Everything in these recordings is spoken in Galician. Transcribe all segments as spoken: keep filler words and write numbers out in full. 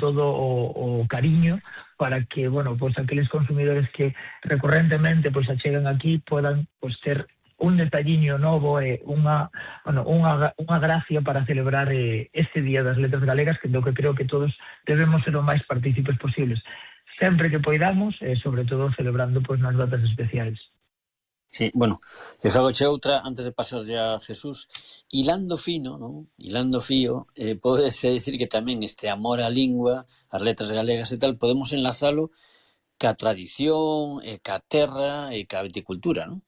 todo o, o cariño para que, bueno, pues aqueles consumidores que recurrentemente pues achegan aquí podan pues ter un detalliño novo e unha, bueno, unha, unha gracia para celebrar eh, este Día das Letras Galegas, que do que creo que todos debemos ser o máis partícipes posibles, sempre que poidamos, e eh, sobre todo celebrando pues, nas datas especiais. Sí, bueno, e fagoche outra, antes de pasar ya a Jesús, hilando fino, non? Hilando fío, eh, podese decir que tamén este amor á lingua, as letras galegas e tal, podemos enlazalo ca tradición, e ca terra, e ca viticultura, non?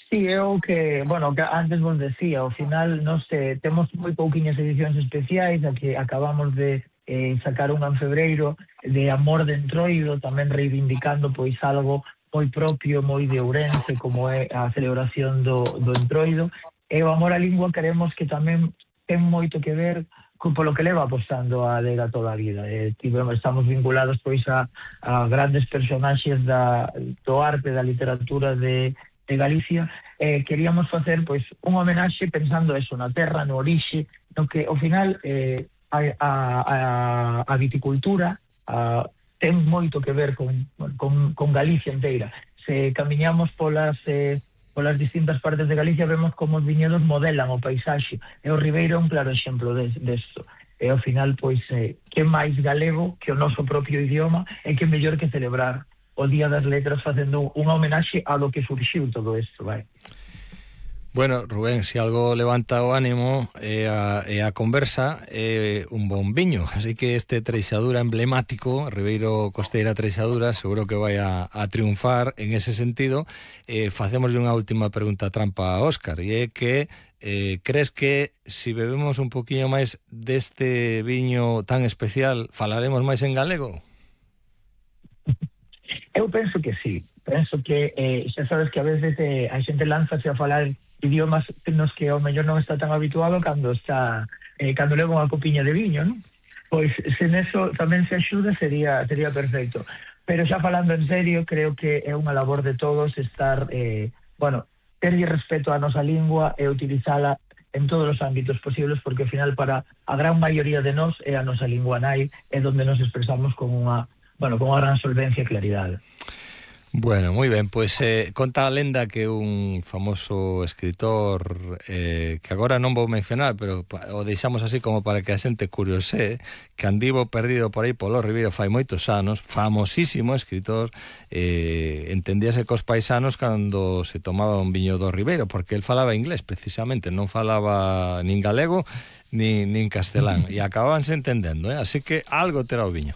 Sí, eu que, bueno, que antes vos decía, ao final, non sei, temos moi pouquiñas edicións especiais, a que acabamos de eh, sacar unha en febreiro de Amor de Entroido, tamén reivindicando pois algo moi propio, moi de Ourense, como é a celebración do, do Entroido. E o amor á lingua queremos que tamén ten moito que ver con polo que leva apostando a adega toda a vida. Eh, tivemos, estamos vinculados pois a, a grandes personaxes da, do arte, da literatura de de Galicia, eh, queríamos facer pois un homenaxe pensando eso, na terra, no orixe, no que ao final eh, a, a, a viticultura a, ten moito que ver con, con, con Galicia inteira. Se camiñamos polas eh, polas distintas partes de Galicia vemos como os viñedos modelan o paisaxe, e o Ribeiro é un claro exemplo desto. E ao final, pois, eh, que máis galego que o noso propio idioma, e que mellor que celebrar o Día das Letras facendo unha homenaxe a lo que surxiu todo isto, vai. Bueno, Rubén, se si algo levanta o ánimo e a, e a conversa é un bon viño, así que este Treixadura emblemático, Ribeiro Costeira Treixadura, seguro que vai a, a triunfar en ese sentido. Eh, facemos unha última pregunta trampa a Óscar, e é que eh, crees que se si bebemos un poquinho máis deste viño tan especial, falaremos máis en galego? Eu penso que sí, penso que eh, xa sabes que a veces eh, a xente lánzase a falar idiomas nos que ao mellor non está tan habituado cando está eh, cando leva unha copiña de viño, non? Pois se neso tamén se axuda sería sería perfecto. Pero xa falando en serio, creo que é unha labor de todos estar, eh, bueno, terlle respeto á nosa lingua e utilizala en todos os ámbitos posibles, porque ao final para a gran maioría de nós é a nosa lingua nai, é donde nos expresamos con unha Bueno, con unha gran solvencia e claridade. Bueno, moi ben, pois eh, conta a lenda que un famoso escritor eh, que agora non vou mencionar, pero o deixamos así como para que a xente curiose, que andivo perdido por aí polo Ribeiro fai moitos anos, famosísimo escritor, eh, entendíase cos paisanos cando se tomaba un viño do Ribeiro, porque el falaba inglés precisamente, non falaba nin galego Ni, nin castelán, e acababanse entendendo, eh? Así que algo terá o viño.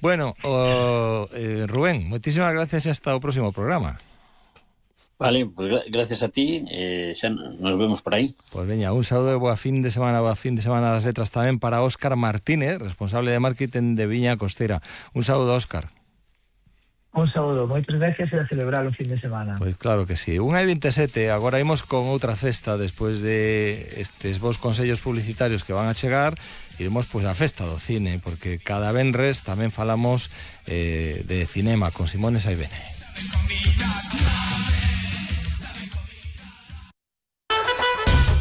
Bueno, o, eh, Rubén, moitísimas gracias e hasta o próximo programa. Vale, pues gra- gracias a ti, eh, xa nos vemos por aí. Pues veña, un saúdo e boa fin de semana, boa fin de semana das letras tamén para Óscar Martínez, responsable de marketing de Viña Costera. Un saúdo, Óscar. Un saúdo, moitas gracias e a celebrar o fin de semana. Pois claro que sí. unha e vinte e sete, agora imos con outra festa despois de estes vos consellos publicitarios que van a chegar. Iremos pois a festa do cine, porque cada venres tamén falamos eh, de cinema con Simone Saibene.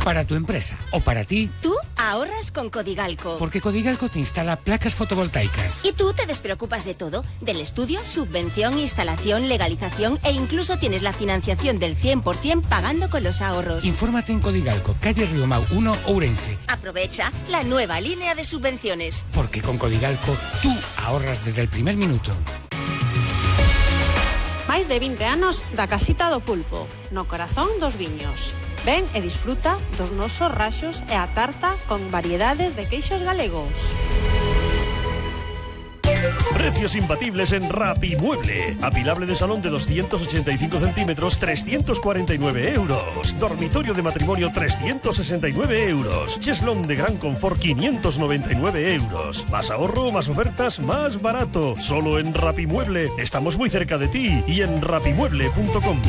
Para tu empresa o para ti. Tú ahorras con Codigalco. Porque Codigalco te instala placas fotovoltaicas. Y tú te despreocupas de todo, del estudio, subvención, instalación, legalización e incluso tienes la financiación del cien por ciento pagando con los ahorros. Infórmate en Codigalco, calle Riomau uno, Ourense. Aprovecha la nueva línea de subvenciones. Porque con Codigalco tú ahorras desde el primer minuto. Máis de vinte anos da Casita do Pulpo, no corazón dos viños. Ven e disfruta dos nosos raxos e a tarta con variedades de queixos galegos. Precios imbatibles en Rapimueble. Apilable de salón de doscientos ochenta y cinco centímetros, trescientos cuarenta y nueve euros. Dormitorio de matrimonio, trescientos sesenta y nueve euros. Cheslón de gran confort, quinientos noventa y nueve euros. Más ahorro, más ofertas, más barato. Solo en Rapimueble. Estamos muy cerca de ti y en rapimueble punto com.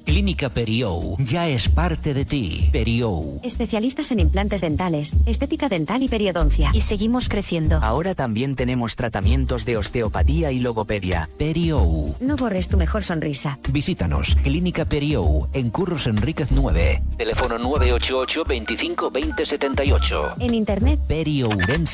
Clínica Periou ya es parte de ti. Periou. Especialistas en implantes dentales, estética dental y periodoncia. Y seguimos creciendo. Ahora también tenemos tratamientos de osteopatía y logopedia. Periou. No borres tu mejor sonrisa. Visítanos. Clínica Periou, en Curros Enríquez nueve. Teléfono nueve ocho ocho, veinticinco, veinte setenta y ocho. En internet. periourense